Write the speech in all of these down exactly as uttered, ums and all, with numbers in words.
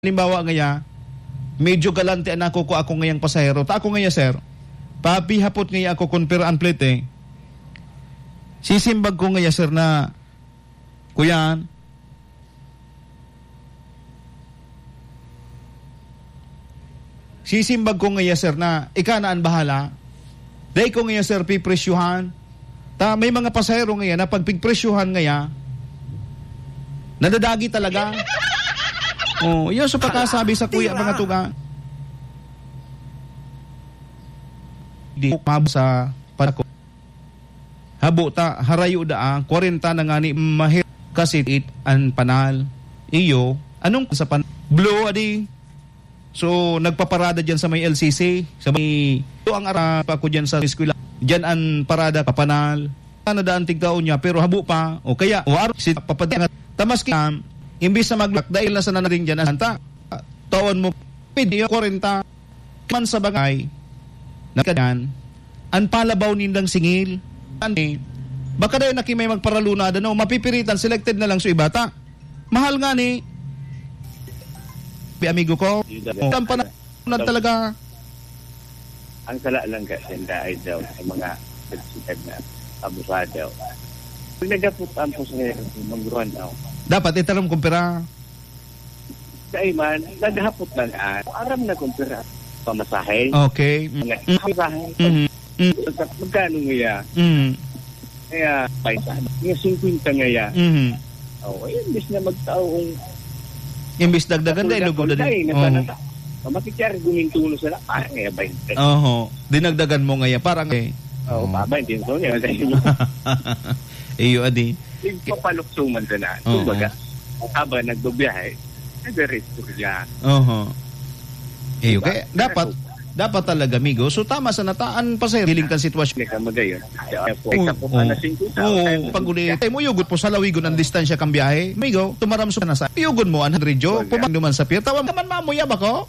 Halimbawa ngaya, medyo galante an nakukua ko ngayang pasahero. Ta ako ngaya, sir, papihapot ngaya ako kun pira an plete. Sisimbag ko ngaya, sir, na, "Kuya, sisimbag ko ngaya, sir, na ika na an bahala. Dai ko ngaya, sir, pipresyuhan." Ta may mga pasahero ngaya na pag pigpresyuhan ngaya, nadadagi talaga. Oh, yun sa pagkasabi sa kuya, mga tuga. Di ko mabasa pa ako. Habo ta, harayo daa, kwarenta na ngani mahir kasi it an panal. Iyo, anong sa pan-, blue, adi? So, nagpaparada dyan sa may L C C, sa may, ito ang ara pa ko dyan sa eskwela. Dyan ang parada, papanal. Ano daan tigkaon niya, pero habo pa. O kaya, o araw, si papadingat. Tamas kaya, imbis na maglak, dahil na sa nanaring dyan, ang ta-, taon mo, pwede yung kwarenta man sa bagay, na kadan, ang palabaw nindang singil. Ani, baka dahil na kimay magparalunada, no? Mapipiritan, selected na lang sa ibata. Mahal nga ni, bi amigo ko. Yun talaga. Ang panahon na talaga. Ang sala lang kasi, ang daay daw, ang mga nagsikad na abusado. Pag nagapot ang pasahero, mangguruan daw. Dapat itaram kung pira. Dahil man, naghapot lang, ah, aram na kung pira pamasahe. Okay. Mm. Mga pamasahe. Mhm. Mm. Magkano nga? Mm. Kaya, paisa. Nga singkwenta nga. Mhm. Oh, eh, imbis na magtao ang Imbis dagdagan, dahil lugod na din. Dahil nasa Oo. nasa. Makikiargumento na sila, parang kaya bainte. Oho. Dinagdagan mo ngaya, parang eh. Oo, Oo. Baba, hindi ko niya. Iyo, adi. Yung papalukso man sa naan. Oo. Kumbaga, habang nagbabiyahe, nagre-restore siya. Oho. Iyo, Diba? kaya dapat, Kaya dapat talaga, amigo. So, tama sa nataan pa, sir. Hiling kan sitwasyon. Hindi ka magayon. Kaya po, Oo, isa po oo. ka na singkwenta, Oo, tayo pag uli, tayo mo, yugot po sa lawigon ang distansya kang biyahe. Amigo, tumaram sa nasa. Yugon mo, ang hundred yo, Wala. pumang naman sa pier. Tawag naman, mamuya ba ko?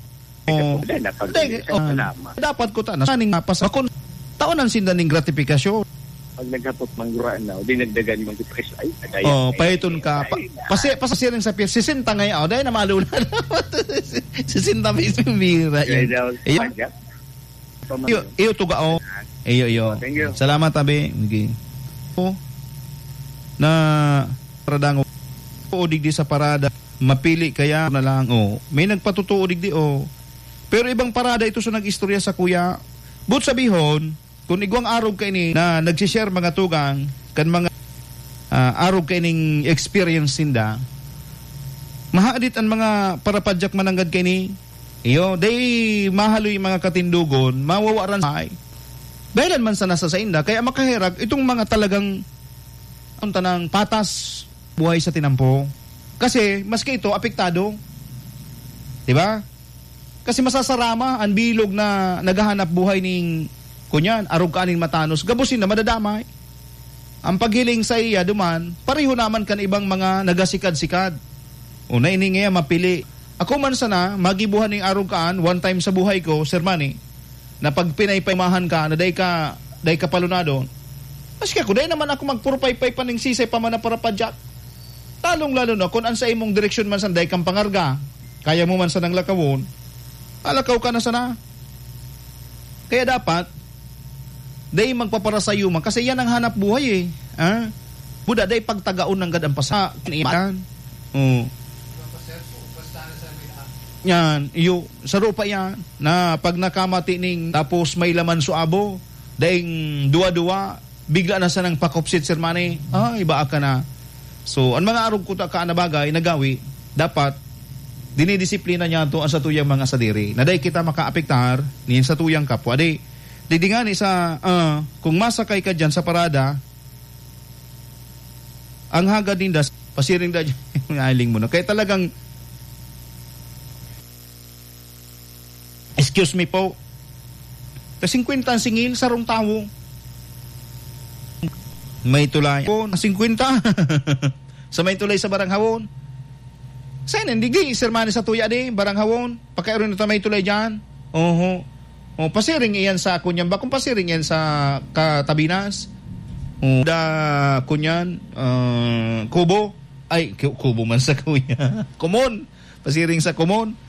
Ikaw Oo. po, wala na. Pag Hindi, uli, oh, salamat. dapat ko ta-, nasaning mapas-, bakun-, taon ang sinda ning gratifikasyon. Pag naghapot mangguraan na, o dinagdagan mo ang depresyo, ay, patay Oh, na, pahiton ka. ay, Pa-, ay, pasi-, pasiring sa pier, sesenta ngayon. Oh, dahil na malula na. Sesenta mismo, bira Kaya yun. daw, Ayun. pagka, Iyo, iyo, tuga, oh. Iyo, iyo. Thank you. Salamat, abi. Okay. Oh, na, paradang, o digdi sa parada, mapili kaya na lang, oh. May nagpatutuo digdi, oh. Pero ibang parada ito sa nag-istorya sa kuya. But sabihon, kung igwang arog kaini na nagsishare mga tugang, kan mga, ah, arog kaining experience ninda, mahadit ang mga parapadyak mananggad kaini. Iyo, dai mahaloy mga katindogon, mawawaran sa ay. Dahilan man sana sa sainda, kaya makaherag itong mga talagang, ang tanang patas buhay sa tinampo. Kasi, maski ito, apektado. Di ba? Kasi masasarama ang bilog na naghahanap buhay ning, kunyan, arog ka aning matanos, gabusin na madadamay. Ang paghiling sa iya duman, pareho naman kan ibang mga nagasikad-sikad. O, na ini nga mapili. Ako man sana, magibuhan ning arog kaan, one time sa buhay ko, Sir Manny, na pag pinaypaymahan ka, na dai ka, dai ka palunadon, maski ako, dai naman ako magpurpaypay pa ning sisay pa man na parapadyak. Lalong-lalo na kung an sa imong direksyon man sana dai kang pangarga, kaya mo man sanang lakawon, alakaw ka na sana. Kaya dapat, dai magpaparasayuma, kasi yan ang hanap buhay eh. Ha? Buda, dai pagtagaon nanggad ang pasa-, iyan. Oh. Yan, iyo, saro pa yan, na pag nakamati ning, tapos may laman so abo, daing duwa-duwa, bigla na sanang pakupsit, Sir Manny. Ay, baa ka na. So, ang mga arog kuta ka na bagay, nagawi, dapat, dinidisiplina niya to ang satuyang mga sadiri. Na dai kita makaapektar, nin satuyang kapwa. Di, di, di nga ni sa, ah, kung masakay ka dyan sa parada, ang hagad ninda, pasiring da dyan, aling mo na. Kaya talagang, Excuse me po. Ta singkwenta ang singil, sarong tawo. May tulay. Po, na singkwenta. Sa may tulay sa Baranghawon. Sa inin, digi, Sir Manny, sa tuya di, Baranghawon. Pakairon ito may tulay dyan. Oho. O, pasiring iyan sa kunyan. Bakong pasiring iyan sa Katabinas. O, da, kunyan, ah, Kubo. Ay, Ku-, Kubo man sa kuya. Kumon. Pasiring sa Kumon.